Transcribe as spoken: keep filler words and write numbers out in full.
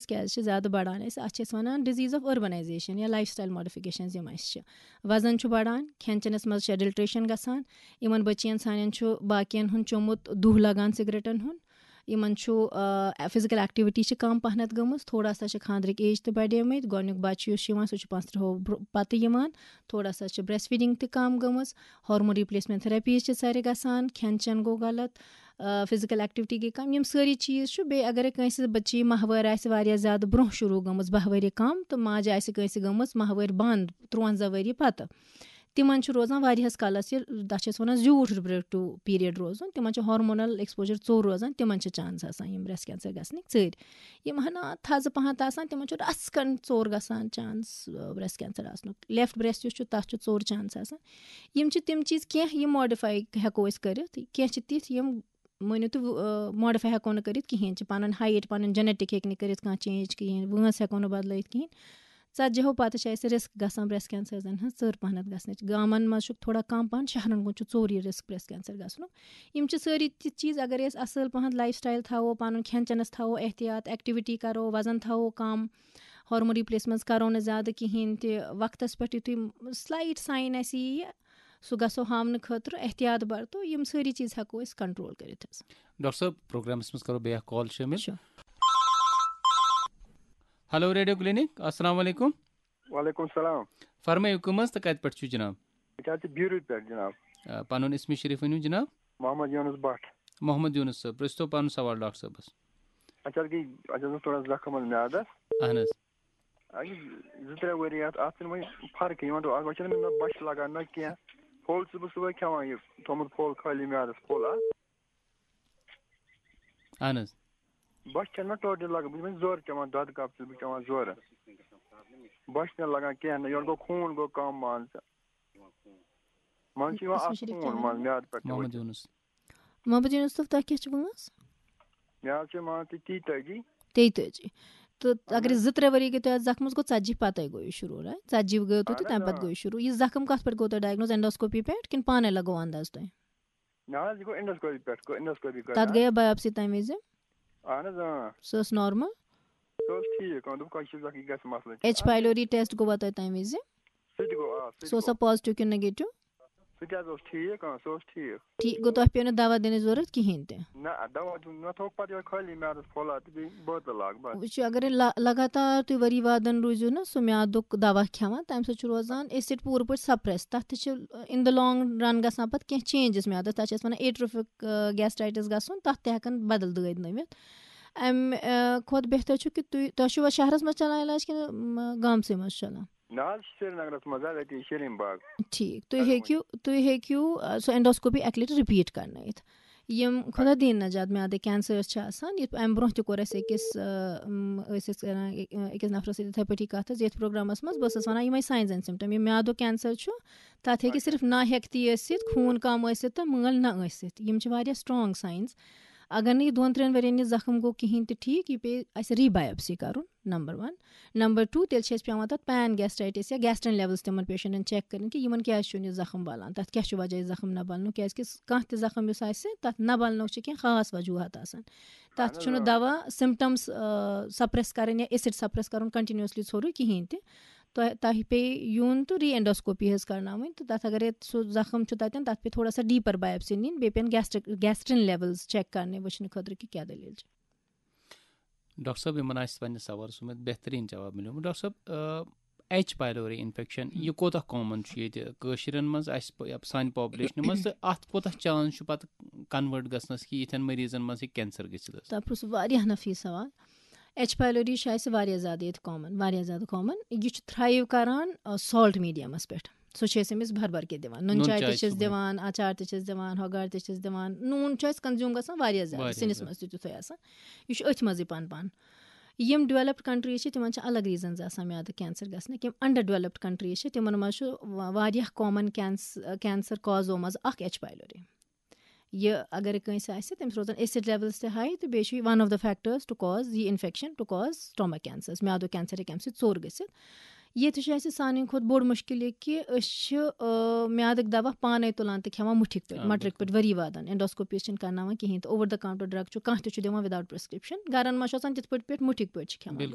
کیٛازِ چھِ زیادٕ بڑان اَسہِ؟ اَتھ چھِ أسۍ وَنان disease of urbanization یا lifestyle modifications یِم اَسہِ چھِ۔ وزن چھُ بڑان، کھٮ۪ن چٮ۪نَس منٛز چھِ adulteration گژھان، یِمَن بٔچِیَن سانٮ۪ن چھُ باقیَن ہُنٛد چوٚمُت دُہ لگان سگریٹَن ہُنٛد، یِمَن چھُ، آ، physical activity چھِ کم پہنتھ گٔمٕژ، تھوڑا سا چھِ خانٛدرٕکۍ age تہِ بڑیمٕتۍ، گۄڈٕنیُک بچہٕ یُس چھُ یِوان سُہ چھُ پانٛژھ تٕرٛہو برٛو-، پتہٕ یِوان، تھوڑا سا چھِ breast feeding تہِ کم گٔمٕژ، hormone replacement therapies چھِ سارے گژھان، کھٮ۪ن چٮ۪ن گوٚو غلط، آ، physical activity گٔے کم، یِم سٲری چیٖز چھُ۔ بیٚیہِ اگرے کٲنٛسہِ بچی ماہوٲرۍ آسہِ واریاہ زیادٕ برٛونٛہہ شروٗع گٔمٕژ، باہ ؤری کم، تہٕ ماجہِ آسہِ کٲنٛسہِ گٔمٕژ ماہوٲرۍ بنٛد تُرٛوَنٛزاہ ؤری پتہٕ، تِمن چھُ روزان واریاہس کالس یہِ، تتھ چھِ أسۍ ونان زیوٗٹھ reproductive period روزُن، تِمن چھُ hormonal exposure ژوٚر روزان، تِمن چھِ chance آسان یِم breast cancer گژھنٕکۍ ژٔرۍ۔ یِم ہنا تھزٕ پہن تہِ آسان، تِمن چھُ رژھ کھنٛڈ ژوٚر گژھان chance، آ، breast cancer آسنُک۔ Left breast یُس چھُ، تتھ چھُ ژوٚر chance آسان۔ یِم چھِ تِم چیٖز کینٛہہ، یِم modify ہٮ۪کو أسۍ کٔرِتھ، کینٛہہ چھِ تِتھۍ یِم مٲنِو تُہۍ، آ، modify ہٮ۪کو نہٕ کٔرِتھ کِہیٖنۍ، چھِ پنُن height، پنُن genetic ہیٚکہِ نہٕ کٔرِتھ کانٛہہ change کِہیٖنۍ، وٲنٛس ہٮ۪کو نہٕ بدلٲیِتھ کِہیٖنۍ۔ ژتجی ہو پتہٕ چھِ اَسہِ risk گژھان breast cancerن ہٕنٛز ژٔر پہنتھ گژھنٕچ۔ گامن منٛز چھُ تھوڑا کم پہن، شہرن کُن چھُ ژوٚر یہِ risk breast cancer گژھنُک۔ یِم چھِ سٲری تِتھۍ چیٖز، اگر أسۍ اصل پہن lifestyle تھاوو، پنُن کھٮ۪ن چٮ۪نس تھاوو احتیاط، activity کرو، وزن تھاوو کم، hormone replacements کرو نہٕ زیادٕ کِہیٖنۍ تہِ، وقتس پٮ۪ٹھ یُتھُے slight sign اَسہِ یِیہِ، سُہ گژھو ہاونہٕ خٲطرٕ احتیاط برتو، یِم سٲری چیٖز ہٮ۪کو أسۍ control کٔرِتھ حظ۔ ڈاکٹر صٲب، پروگرامس منٛز کرو بیٚیہِ اکھ call شٲمِل۔ شُکر۔ Hello Radio Clinic، السلام علیکم۔ وعلیکم السلام۔ فرمٲیِو، کٕم حظ تہٕ کتہِ پٮ۪ٹھ چھِو جناب؟ أسۍ حظ چھِ بیٖروٗ پٮ۪ٹھ جناب۔ آ، پنُن اسمِ شریٖف ؤنِو جناب۔ محمد یونس بٹ۔ محمد یونس صٲب، پرٛژھتو پنُن سوال ڈاکٹر صٲبس۔ اَسہِ حظ گٔے، اَسہِ حظ اوس تھوڑا زخم حظ میادس۔ اہن حظ۔ اَسہِ گٔے زٕ ترٛےٚ ؤری اَتھ، اَتھ چھِنہٕ وۄنۍ فرقٕے یِوان، اَتھ چھِنہٕ مےٚ نہ بۄچھِ لگان نہ کینٛہہ۔ پھوٚل چھُس بہٕ صُبحٲے کھٮ۪وان، یہِ تھوٚمُت پھوٚل خٲلی میادس پھوٚل اَتھ۔ اہن حظ۔ بۄچھِ چھَنہٕ مےٚ totally لگان، بہٕ چھُس وۄنۍ زورٕ چٮ۪وان، دۄدٕ cup چھُس بہٕ چٮ۪وان زورٕ۔ بۄچھِ چھَنہٕ لگان کینٛہہ نہٕ، یورٕ گوٚو خوٗن گوٚو کم مان ژٕ۔ منٛزٕ چھُ یِوان بسم اَتھ شریٖف خوٗن چٮ۪وان۔ منٛز میادٕ پٮ۪ٹھ تہِ مُچہِ۔ محمد یونس۔ محمد یونس صٲب، تۄہہِ کیٛاہ چھِ وٲنٛس؟ مےٚ حظ چھِ مان ژٕ تیٚتٲجی۔ تیٚتٲجی۔ تہٕ اہن اگر حظ۔ زٕ ترٛےٚ ؤری گٔے تۄہہِ اَتھ زخمَس، گوٚو ژتجی پَتَے گوٚو یہِ شروٗع، right؟ ژتجی گٔیو تۄہہِ تہٕ اہن حظ، تَمہِ پَتہٕ آ۔ گوٚو یہِ شروٗع۔ یہِ زخم کَتھ پٮ۪ٹھ گوٚو تۄہہِ diagnose، endoscopy پٮ۪ٹھ کِنہٕ پانَے لگوو انداز تۄہہِ؟ نہ حظ، یہِ گوٚو endoscopy پٮ۪ٹھ، گوٚو endoscopy تَتھ کَرناو۔ گٔیا biopsy تَمہِ وِزِ؟ اہن حظ، اۭں۔ سۄ ٲس normal؟ سۄ ٲس ٹھیٖک، اۭں، دوٚپُکھ، یہِ چھُ زَکھ، یہِ گژھِ مسلہٕ۔ H pylori test گوٚوا تۄہہِ تَمہِ وِزِ؟ سُہ تہِ گوٚو، آ، سُہ تہِ سُہ اوسا گوٚو۔ Positive کِنہٕ negative؟ سُہ تہِ حظ اوس ٹھیٖک، اۭں، سُہ اوس ٹھیٖک۔ ٹھیٖک گوٚو، تۄہہِ پیٚو نہٕ دوا دِنٕچ ضروٗرت کِہیٖنۍ تہِ؟ نہ، دوا دیُن، مےٚ تھوٚو پَتہٕ یِہوٚے خٲلی میادَس پھوٚلہ تہٕ بیٚیہِ بٲتلہٕ لاگ، بَس۔ وٕچھِو، اگر لا-، لگاتار تُہۍ ؤری وادَن روٗزِو نہ سُہ میادُک دوا کھٮ۪وان، تَمہِ سۭتۍ چھُ روزان acid پوٗرٕ پٲٹھۍ suppress۔ تَتھ تہِ چھِ in the long run گژھان پَتہٕ کینٛہہ changes میادَس، تَتھ چھِ أسۍ وَنان atrophic، آ، gastritis گژھُن، تَتھ تہِ ہٮ۪کَن بدل دٲدۍ نٔوِتھ۔ اَمہِ، آ، کھۄتہٕ بہتر چھُ کہِ تُہۍ، تۄہہِ چھُوا شہرَس منٛز چلان علاج کِنہٕ، م، گامسٕے منٛز چھُ چلان؟ نہ حظ، سرینگرَس منٛز حظ، اَتی شیٖرِن باغ۔ ٹھیٖک، تُہۍ ہیٚکِو، تُہۍ ہیٚکِو، آ، سُہ endoscopy اَکہِ لَٹہِ repeat کَرنٲیِتھ۔ یِم خۄدا دِیِن نجات میادٕ cancers چھِ آسان، یِتھ اَمہِ برونٛہہ تہِ کوٚر اَسہِ أکِس، آ، م، ٲسۍ أسۍ کَران، آ، أکِس نفرَس سۭتۍ یِتھَے پٲٹھی کَتھ حظ، یَتھ پروگرامَس منٛز بہٕ ٲسٕس وَنان یِمَے signs and symptoms، یِم میادُک cancer چھُ، تَتھ ہیٚکہِ اچھا۔ صرف نا ہیٚکتھٕے ٲسِتھ، خوٗن کَم ٲسِتھ تہٕ مٲل نہ ٲسِتھ۔ یِم چھِ واریاہ strong signs۔ اگر نہٕ یہِ دۄن ترٛٮ۪ن ؤرِین یہِ زخم گوٚو کِہیٖنۍ تہِ ٹھیٖک، یہِ پیٚیہِ اَسہِ re-biopsy کَرُن، number one۔ Number two، تیٚلہِ چھِ اَسہِ پٮ۪وان تَتھ pan gastritis یا gastrin levels تِمَن patientن check کَرٕنۍ کہِ یِمَن کیٛازِ چھُنہٕ یہِ زخم بَلان، تَتھ کیٛاہ چھُ وجہ یہِ زخم نہ بَلنُک، کیٛازِکہِ س-، کانٛہہ تہِ زخم یُس آسہِ، تَتھ نہ بَلنُک چھِ کینٛہہ خاص وجوٗہات آسان۔ تَتھ اہن حظ، چھُنہٕ آ۔ دَوا symptoms، آ، suppress کَرٕنۍ یا acid suppress کَرُن continuously ژھورُے کِہیٖنۍ تہِ۔ تۄہہِ، تۄہہِ پیٚیہِ یُن تہٕ re-endoscopy حظ کَرناوٕنۍ، تہٕ تَتھ اگرے سُہ زخم چھُ تَتٮ۪ن، تَتھ پیٚیہِ تھوڑا سا deeper biopsy نِنۍ، بیٚیہِ پیٚن gastric، gastrin levels check کَرنہِ، وٕچھنہٕ خٲطرٕ کہِ کیٛاہ دٔلیٖل چھِ۔ ڈاکٹر صٲب، یِمَن آسہِ پنٛنِس سوالَس منٛز بہتریٖن جواب مِلیومُت۔ ڈاکٹر صٲب، آ، H pylori infection، یہِ کوٗتاہ common چھُ ییٚتہِ کٲشرٮ۪ن منٛز، اَسہِ پَ-، یَپ-، سانہِ population منٛز، تہٕ اَتھ کوٗتاہ chance چھُ پَتہٕ convert گژھنَس کہِ یِتھٮ۪ن مریضَن منٛز ہیٚکہِ cancer گٔژھِتھ حظ؟ تۄہہِ پرٛژھوُ واریاہ نفیٖس سوال۔ H pylori چھِ اَسہِ واریاہ زیادٕ ییٚتہِ common، واریاہ زیادٕ common۔ یہِ چھُ thrive کران، آ، salt mediumس پٮ۪ٹھ۔ سُہ چھِ أسۍ أمِس بھر بھر کے دِوان۔ نُن نُن چاے چاے تہِ چھِس چھِ دِوان، اچار تہِ چھِس دِوان، ہۄگار تہِ چھِس دِوان۔ نوٗن چھُ اَسہِ consume گژھان واریاہ زیادٕ، واریاہ سِنِس زیادٕ۔ منٛز تہِ تیُتھُے آسان۔ یہِ چھُ أتھۍ منٛزٕے پَن پَن۔ یِم developed countries چھِ، تِمَن چھِ الگ reasons آسان میادٕ cancer گژھنٕکۍ۔ یِم underdeveloped countries چھِ، تِمَن منٛز چھُ وا-، واریاہ common canc-، cancer causeو منٛز اَکھ H pylori۔ یہِ اگر کٲنٛسہِ آسہِ، تٔمِس روزان acid levels تہِ high، تہٕ بیٚیہِ چھُ یہِ one of the factors to cause the infection to cause stomach cancers، میادُک cancer ہیٚکہِ اَمہِ سۭتۍ ژوٚر گٔژھِتھ۔ ییٚتہِ چھُ اَسہِ سانہِ کھۄتہٕ بوٚڑ مُشکِل یہِ کہِ أسۍ چھِ، آ، میادٕکۍ دوا پانَے تُلان تہٕ کھٮ۪وان مُٹھِکۍ پٲٹھۍ، آ، مَٹرِکۍ بِلکُل۔ پٲٹھۍ، ؤری وادَن endoscopy چھِنہٕ کَرناوان کِہیٖنۍ تہٕ over the counter drug چھُ کانٛہہ تہِ چھُ دِوان without prescription۔ گَرَن منٛز چھُ آسان تِتھ پٲٹھۍ پٲٹھۍ مُٹھِکۍ پٲٹھۍ چھِ کھٮ۪وان۔ بِلکُل۔